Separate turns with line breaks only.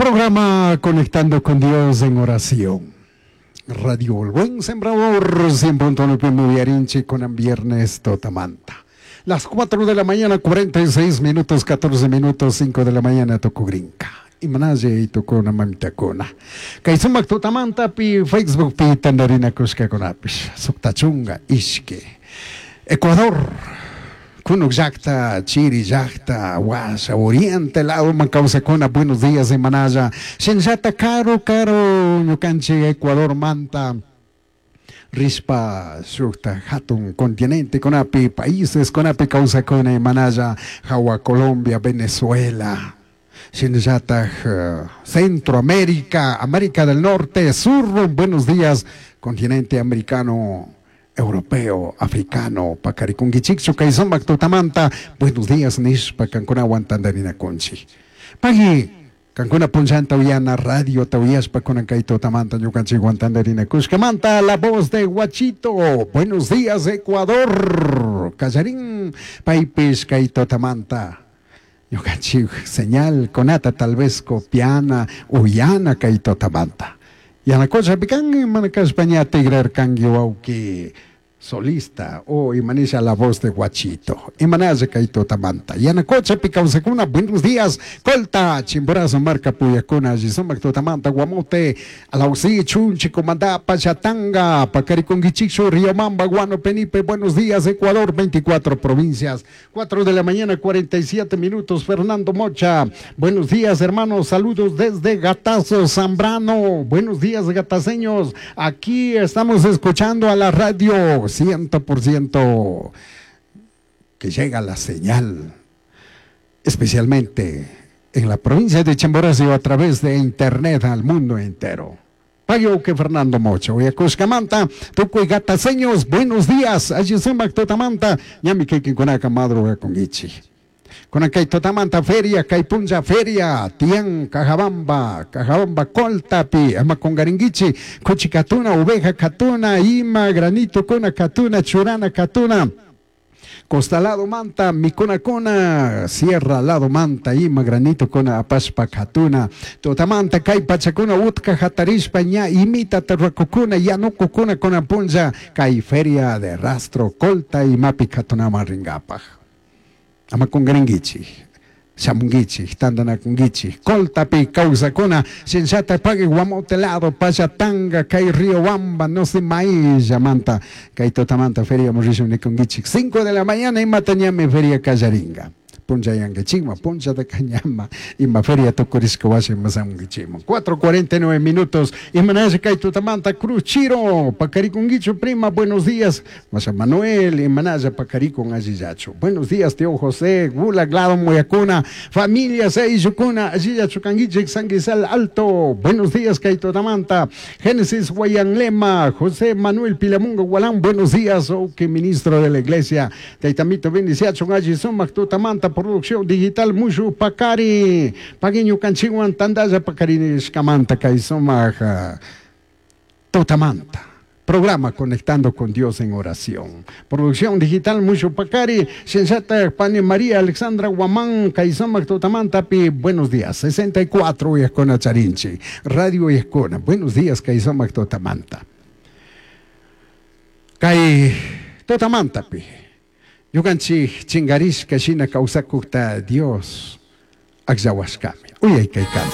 Programa Conectando con Dios en oración. Radio El Buen Sembrador 100.9 Yarinchi con viernes Totamanta. Las 4 de la mañana, 46 minutos, 14 minutos, 5 de la mañana, Tocogrinca. Imanaye y tocona mamitakuna. Kay sumak tutamanta pi Facebook pi tandarina kushkakunapish. Suktachunga ishki. Ecuador. Kunuk llakta, Chiri llakta, Huasha, Oriente lado kawsakuna, buenos días imanalla. Shinllata karu karu ñukanchik Ecuador manta. Rishpa shukta hatun continente kunapi países kunapi kawsakuna imanalla hawa Colombia, Venezuela. Shinallataj Centroamérica, América del Norte, Sur, buenos días, continente americano, europeo, africano, pacarikunkichikchu kay sumak tutamanta, buenos días nishpa kankunawan tandarinakunchik. Pagui, kankuna punllanta uyana radio uyashpa kunan kay tutamanta ñukanchikwan tandarinakushkamanta, la voz de Guachito, buenos días Ecuador, kallarin paypish kay tutamanta. Ñukanchik señal kunata tal vez copiana, uyana kay tutamanta. Yanacocha pican mana kashpa ña tigrarkanki wawki solista o imanisha la voz de Guachito. Imanaya kay tutamanta. Yanacocha kawsakuna, buenos días. Colta, Chimborazo, Marca Puyacuna, Yisomac tutamanta, Guamote, Alaucí, Chunchi, Comandá, Pachatanga, Pacariconguichicho, Riobamba, Guano, Penipe, buenos días, Ecuador, 24 provincias, 4 de la mañana, 47 minutos, Fernando Mocha, buenos días, hermanos, saludos desde Gatazo, Zambrano, buenos días, gataceños, aquí estamos escuchando a la radio 100% que llega la señal, especialmente en la provincia de Chimborazo a través de internet al mundo entero. Payo que Fernando Mocho, Cuscamanta, Tucuy Gataceños, buenos días, allí sumac totamanta, ñami que kunaka madruga con ichi. Kay totamanta feria, kay punlla feria, tian, Cajabamba, Cajabamba coltapi, ama con garinguichi, cuchi katuna, oveja katuna, ima, granito kuna katuna, churana katuna. Costalado manta, mikuna kuna, sierra lado manta, ima granito kuna apashpa katuna, totamanta kay pachakuna utka hatarishpa ña imita terrakukuna, yanukukuna kuna punlla, kay feria de rastro, colta y mapi katunama ringapaj. Ama kungaringuichi, shamunguichi, tandanakunguichi, coltapi kawsakuna, shinllata pagui guamote lado, pachatanga, kay río Wamba, no sé maíz, manta, kay totamanta feria morishun nikunguichi. 5 de la mañana imata ñami feria kallaringa. Puncha yanguichima, puncha de cañama, ima feria tukurishka wasi masamunguichima. 4:49 minutos, imanaya kay totamanta Cruz Chiro, Pacariconguicho, prima, buenos días. Masa Manuel, imanaya Pacaricon allillacho. Buenos días, tío José, Gula, Glado, Moyacuna, familia Seyucuna, allillacho canguiche, Sanguizal Alto. Buenos días, kay totamanta. Génesis Guayanlema, José Manuel Pilamungo Gualán, buenos días, oh, que ministro de la iglesia. Taitamito bendiciacho, alli sumac totamanta, producción digital Mushu Pacari, Pagueño Canchihuan, Tandaya Pacari, Escamanta, Caisomaja, Totamanta. Programa Conectando con Dios en Oración. Producción digital Mushu Pacari, Sensata Pani María Alexandra Guamán, Caisomac Totamanta, pi, buenos días. 64 y Escona Charinchi, Radio Escona. Buenos días, Caisomac Totamanta. Cai Totamanta, pi. Ñukanchik chingarishka shina kawsakukta Dios akllawashkami. Uyay kay canto.